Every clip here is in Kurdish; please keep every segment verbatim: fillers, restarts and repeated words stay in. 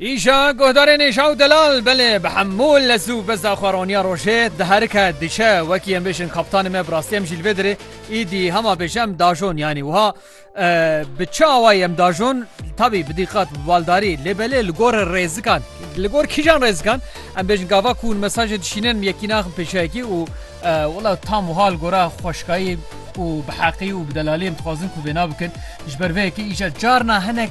Îja guhdarên êja û delal, belê bi hemû lez û beza xwe roniya rojê diherike diçe, wekî em bêjin kaptanê me bi rastî em jî li vê dirê îdî hema bêje em dajon, yanî wiha, e, bi çi awayî em dajon? Tabî bi dîqat, bi baldarî, lê belê li gor rêzikan, li gor kîjan rêzikan? Em bêjin gava ku hûn mesajê dişînin, yekî naxin pêşeyekî û, e, wela tam wiha li gora xweşkayî û bi heqî û bi delalî em dixwazin ku vêna bikin. Ji ber vê yekê îja carna hinek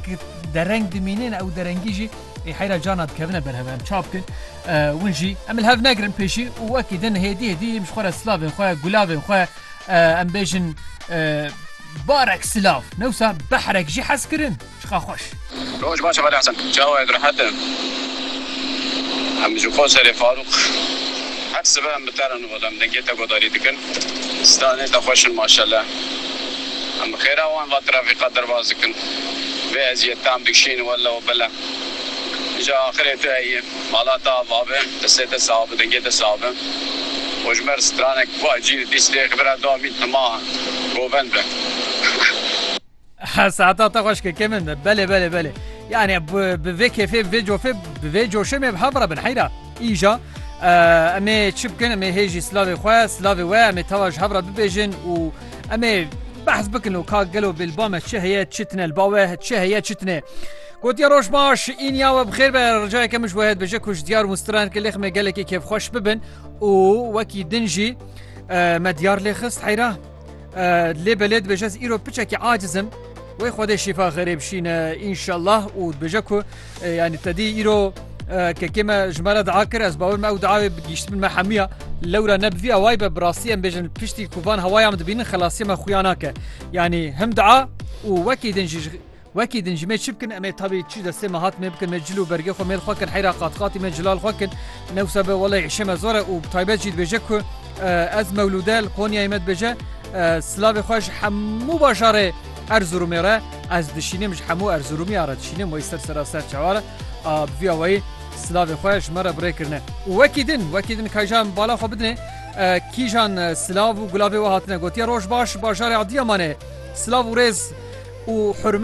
dereng dimînin, ew derengî jî ê heyra carna dikevine ber hev, em ça bikin? E, win jî em li hev negirin pêşî û wekî din hêdî hêdî em ji xwe re silavên xwe, gulavên xwe, e, em bêjin, e, barek silav. Ne wisa behrek jî hez kirin. Çiqa xweş. Roj baş, Xalî Hesen. Çawa yê, rehet e? Em ji xwe serê Farûq. Her sibe em bi te re nû, em dengê te guhdarî dikin. Stranê te xweş in maşallah. Em bi xêra wan va trafîka derbas dikin. Vê eziyet tam dikişîn welle û bile. Ji axirê tu heyî. Mala te ava be, destê te sax be, dengê te sax be. Û ji me re stranek va cî dîstê xibira dawî tema govend be. Saeta te xweş ke, kêmin de. Belê, belê, belê. Yani bi, bi vê kêfê, bi vê cofê, bi vê coşê me bi hev re bin heyra. Îja, e, em ê çi bikin? Em ê hê jî silavê xwe, silavê we, em ê teva ji hev re bibêjin û em ê behs bikin û ka gelo bilba me çi heye, çi tine, li ba we çi heye, çi tine. Gotiye, roj baş, înîya we bi xêr be, ricayeke min ji we heye, dibêje ku ji diyar û straneke lêx me gelekî kêfxweş bibin û wekî din jî, e, me diyar lê xist heyra. E, lê belê dibêje ez îro piçekî aciz im. Wê Xwedê şîfa xêrê bişîne înşallah û dibêje ku, e, yanî te dî îro, e, kekê me ji me re dua kir, ez bawer me ew duayê bi gihîştibin me hemiya. Lewra ne bi vî awayî be, bi rastî em bêjin piştî ku van hewaya em dibînin xelasiya me xuya nake. Yanî him dua û wekî din jî ji Wekî din jî me çi bikin? Em ê tabî çi destê me hat me bikin, me cil û bergê xwe mêl xwe kin, heyra qatqatî me cilal xwe kin. Ne wisa be, weleh îşê me zor e û bi taybet jî dibêje ku, e, ez Mewlûde li Konyayê me dibêje, e, silavê xwe ji hemû bajarê Erzurumê re ez dişînim, ji hemû Erzurumî re dişînim, wê ser sera ser çawa re, a, bi vî awayî silavê xwe ji me re bi rê kirine. Û wekî din, wekî din kayja em bala xwe bidinê, e, kîjan, e, silav û gulavê we hatine gotiye, roj baş, bajarê Adiyamanê, silav û rêz û hurmet.